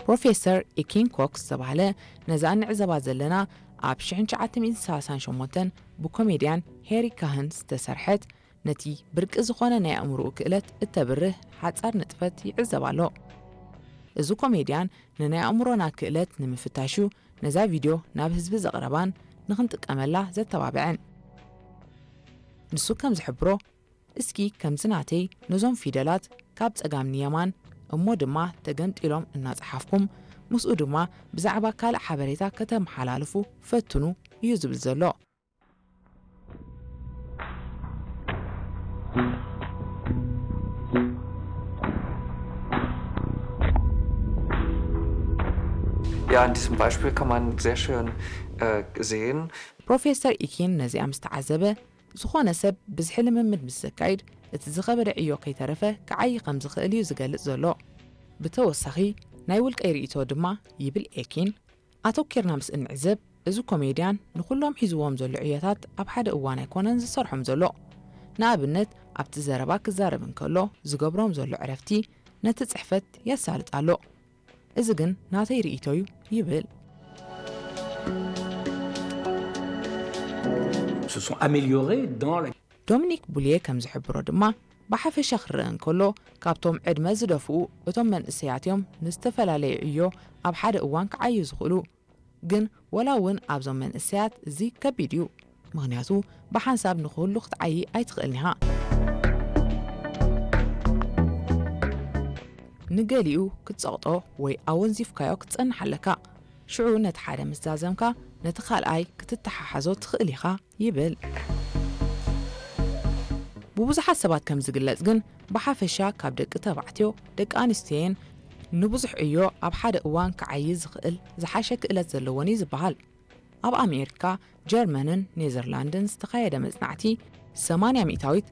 ፕሮፌሰር ኢኪን ኮክ ዝተባህለ ነዛ እንዕዘባ ዘለና ኣብ ሽሕን ትሽዓተ ሚእትን ሰላሳን ሸሞንተን ብኮሜድያን ሄሪ ካህን ዝተሰርሐት ነቲ ብርቂ ዝኾነ ናይ ኣእምሮኡ ክእለት እተብርህ ሓጻር ንጥፈት ይዕዘብ ኣሎ። እዚ ኮሜድያን ንናይ ኣእምሮና ክእለት ንምፍታሹ ነዛ ቪድዮ ናብ ህዝቢ ዘቕረባን ንኽንጥቀመላ ዘተባብዐን። ንሱ ከም ዝሕብሮ፣ እስኪ ከምዚ ናተይ ነዞም ፊደላት ካብ ጸጋም ንየማን እሞ ድማ ተገንጢሎም እናጸሓፍኩም፣ ምስኡ ድማ ብዛዕባ ካልእ ሓበሬታ ከተመሓላልፉ ፈትኑ እዩ ዝብል ዘሎ። Ja, an diesem Beispiel kann man sehr schön äh, sehen. ፕሮፌሰር ኢኪን ነዚኣ ምስ ተዓዘበ፣ ዝኾነ ሰብ ብዝሒ ልምምድ ምስ ዘካይድ፣ እቲ ዝኸበደ ዕዮ ከይተረፈ ክዓዪ ከም ዝኽእል እዩ ዝገልጽ ዘሎ። ብተወሳኺ፣ ናይ ውልቀይ ርእይቶ ድማ፣ ይብል ኤኪን፣ ኣተኲርና ምስ እንዕዘብ፣ እዚ ኮሜድያን ንኹሎም ሒዝዎም ዘሎ ዕዮታት ኣብ ሓደ እዋን ኣይኮነን ዝሰርሖም ዘሎ። ንኣብነት፣ ኣብቲ ዘረባ ክዛረብ እንከሎ ዝገብሮም ዘሎ ዕረፍቲ ነቲ ጽሕፈት የሳልጥ ኣሎ። እዚ ግን ናተይ ርእይቶ እዩ ይብል። Se sont améliorés dans la ዶሚኒክ ቡልየ ከም ዝሕብሮ ድማ፣ ብሓፈሻ ክረአ እንከሎ፣ ካብቶም ዕድመ ዝደፍኡ እቶም መንእሰያት እዮም ንዝተፈላለየ ዕዮ ኣብ ሓደ እዋን ክዓዩ ዝኽእሉ። ግን ወላ እውን ኣብዞም መንእሰያት እዚ ከቢድ እዩ። ምኽንያቱ ብሓንሳብ ንኹሉ ክትዓዪ ኣይትኽእልን ኢኻ። ንገሊኡ ክትጸቕጦ ወይ ኣወንዚፍካዮ ክትጸንሕ ኣለካ። ሽዑ ነቲ ሓደ ምስ ዛዘምካ ነቲ ካልኣይ ክትተሓሓዞ ትኽእል ኢኻ ይብል። ብብዙሓት ሰባት ከም ዝግለጽ ግን ብሓፈሻ ካብ ደቂ ተባዕትዮ ደቂ ኣንስትዮየን ንብዙሕ ዕዮ ኣብ ሓደ እዋን ክዓዪ ዝኽእል ዝሓሸ ክእለት ዘለወን እዩ ዝበሃል። ኣብ ኣሜሪካ፣ ጀርመንን ኔዘርላንድን ዝተኻየደ መጽናዕቲ ሰማንያ ሚእታዊት